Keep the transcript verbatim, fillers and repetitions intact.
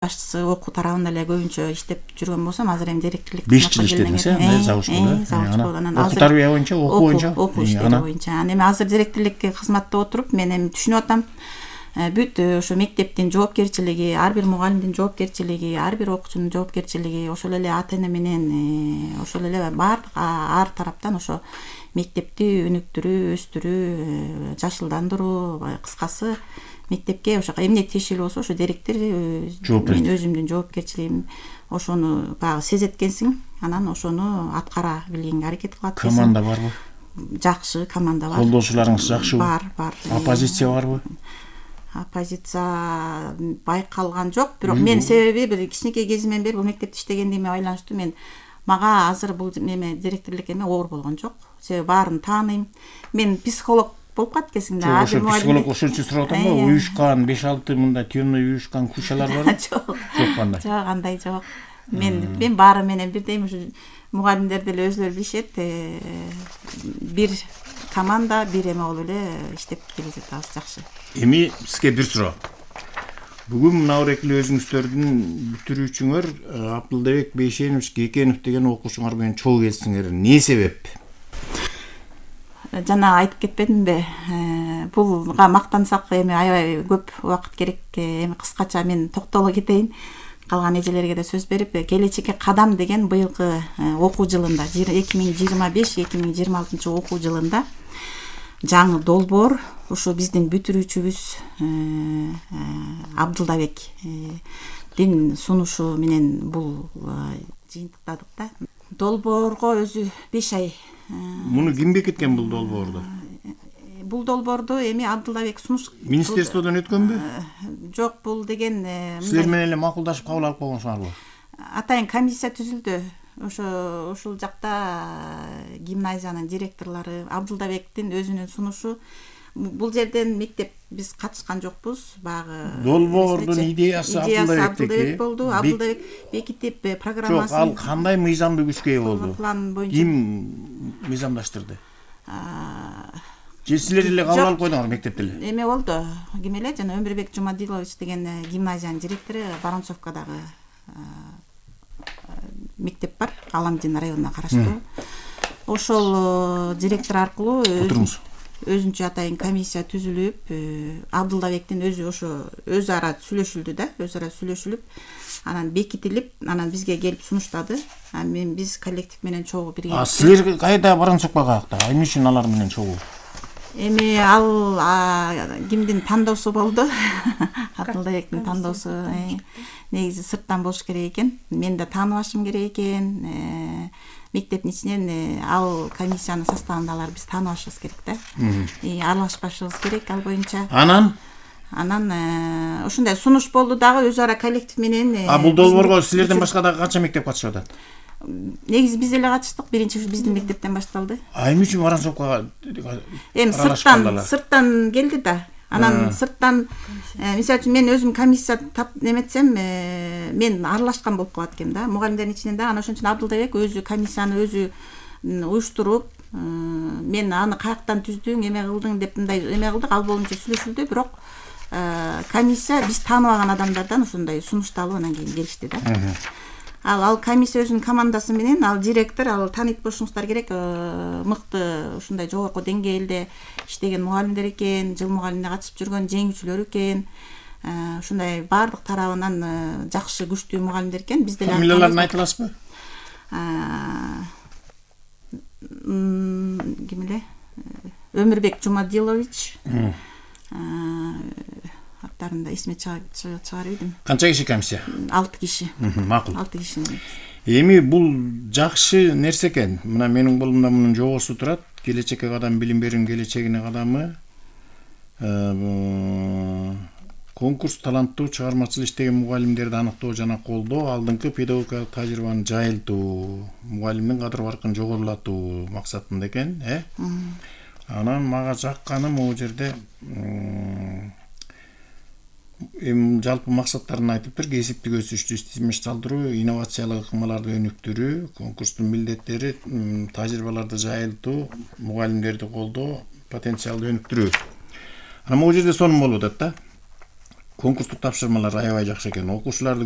башчысы окуу тарабында эле көбүнчө иштеп жүргөн болсом, азыр эми директорлук беш жыл иштедиңиз, э, завучкада. Окуу тарбия боюнча, окуу боюнча. Окуу иштери боюнча. Анан эми азыр директорлукке кызматта отуруп, мен эми түшүнүп атам. Бүт ошо мектептин жоопкерчилиги, ар бир мугалимдин жоопкерчилиги, ар бир окуучунун жоопкерчилиги, ошол эле ата эне менен ошол эле баардык ар тараптан ошо мектепти өнүктүрүү, өстүрүү, жашылдандыруу, кыскасы мектепке ошо эмне тиешелүү болсо ошо директор мен өзүмдүн жоопкерчилигим ошону баягы сезет экенсиң, анан ошону аткара билгенге аракет кылат экенсиң. Команда барбы? Жакшы команда бар. Колдоочуларыңыз жакшыбы? Бар, бар. Оппозиция барбы? Оппозиция байкалган жок, бирок мен себеби бир кичинекей кезимден бери бул мектепте иштегендигиме байланыштуу мен мага азыр бул эме директорлук эме оор болгон жок. Себеби баарын тааныйм. Мен психолог болуп калат экенсиң да. Ошо психолог ошон үчүн сурап атам го. Уюшкан беш алты мындай темный уюшкан кучалар барбы? Жок. Жок кандай? Жок, андай жок. Мен мен баары менен бирдей ушу мугалимдер деле өзүлөрү билишет. Бир команда, бир эме болуп эле иштеп келе жатабыз, жакшы. Эми сизге бир суроо. Бүгүн мына эле өзүңүздөрдүн бүтүрүүчүңөр Абдылдабек Бейшенович Кекенов деген окуучуңар менен чогуу келсиңер. Эмне себеп? Жана айтып кетпедимби? Булга мактансак эми аябай көп убакыт керек. Эми кыскача мен токтоло кетейин. Калган эжелерге да сөз берип, келечекке кадам деген быйылкы окуу жылында, эки миң жыйырма беш эки миң жыйырма алтынчы окуу жылында жаңы долбоор ушу биздин бүтүрүүчүбүз Абдылдабектин сунушу менен бул жыйынтыктадык да. Долбоорго өзү беш ай. Муну ким бекиткен бул долбоорду? Бул долбоорду эми Абдылдабек сунуш министерстводон өткөнбү? Жок, бул деген силер менен эле макулдашып кабыл алып койгонсуңарбы? Атайын комиссия түзүлдү. Ошо ушул жакта гимназиянын директорлору, Абдылдабектин өзүнүн сунушу. Бул жерден мектеп биз катышкан жокпуз. Багы долбоордун идеясы Абдылдабек болду. Абдылдабек бекитип программасын. Жок, ал кандай мыйзамдуу күчкө ээ болду? План боюнча ким мыйзамдаштырды? Же силер эле кабыл алып койдуңар мектепте эле? Эме болду. Ким эле жана Өмүрбек Жумадилович деген гимназиянын директору, Воронцовкадагы мектеп бар, Аламдин районуна караштуу. Ошол директор аркылуу өзүнчө атайын комиссия түзүлүп, Абдылдабектин өзү ошо өз ара сүйлөшүлдү да, өз ара сүйлөшүлүп, анан бекитилип, анан бизге келип сунуштады. Мен биз коллектив менен чогуу бирге. А силер кайда Воронцовкага каяакта? Эмне үчүн алар менен чогуу? Эми ал кимдин тандоосу болду? Абдылдабектин тандоосу. Негизи сырттан болуш керек экен. Мен да тааныбашым керек экен. Мектептин ичинен ал комиссиянын составында алар биз тааныбашыбыз керек да. И аралашпашыбыз керек ал боюнча. Анан Анан ушундай сунуш болду дагы өз ара коллектив менен. А бул долбоорго силерден башка дагы канча мектеп катышып атат? Негизи биз эле катыштык, биринчи ушу биздин мектептен башталды. А эмне үчүн Воронцовкага? Эми сырттан, сырттан келди да. Анан сырттан, мисалы үчүн мен өзүм комиссия тап неметсем, мен аралашкан болуп калат экем да. Мугалимдердин ичинен да, анан ошон үчүн Абдылдабек өзү комиссияны өзү уюштуруп, мен аны каяктан түздүң, эме кылдың деп мындай эме кылдык, ал боюнча сүйлөшүлдү, бирок комиссия биз тааныбаган адамдардан ошондой сунушту алып анан кийин келишти да. Ал ал комиссия өзүнүн командасы менен, ал директор, ал таанып болушуңуздар керек, мыкты ушундай жогорку деңгээлде иштеген мугалимдер экен, жыл мугалимдикке катышып жүргөн жеңүүчүлөр экен. Ушундай баардык тарабынан жакшы, күчтүү мугалимдер экен. Биз деле фамилияларын айта аласызбы? Ким эле? Өмүрбек Жумадилович. Аттарын да эсиме чыгарып идим. Канча киши комиссия? алты киши. Макул. алты киши. Эми бул жакшы нерсе экен. Мына менин колумда мунун жобосу турат. Келечекке кадам билим берүүнүн келечегине кадамы. Конкурс таланттуу чыгармачыл иштеген мугалимдерди аныктоо жана колдоо, алдыңкы педагогикалык тажрыйбаны жайылтуу, мугалимдин кадыр баркын жогорулатуу максатында экен, э? Анан мага жакканы могу жерде эми жалпы максаттарын айтыптыр. Кесиптик өсүштү системалаштыруу, инновациялык ыкмаларды өнүктүрүү, конкурстун милдеттери, тажрыйбаларды жайылтуу, мугалимдерди колдоо, потенциалды өнүктүрүү. Анан могу жерде сонун болуп атат да. конкурстук тапшырмалар аябай жакшы экен. Окуучуларды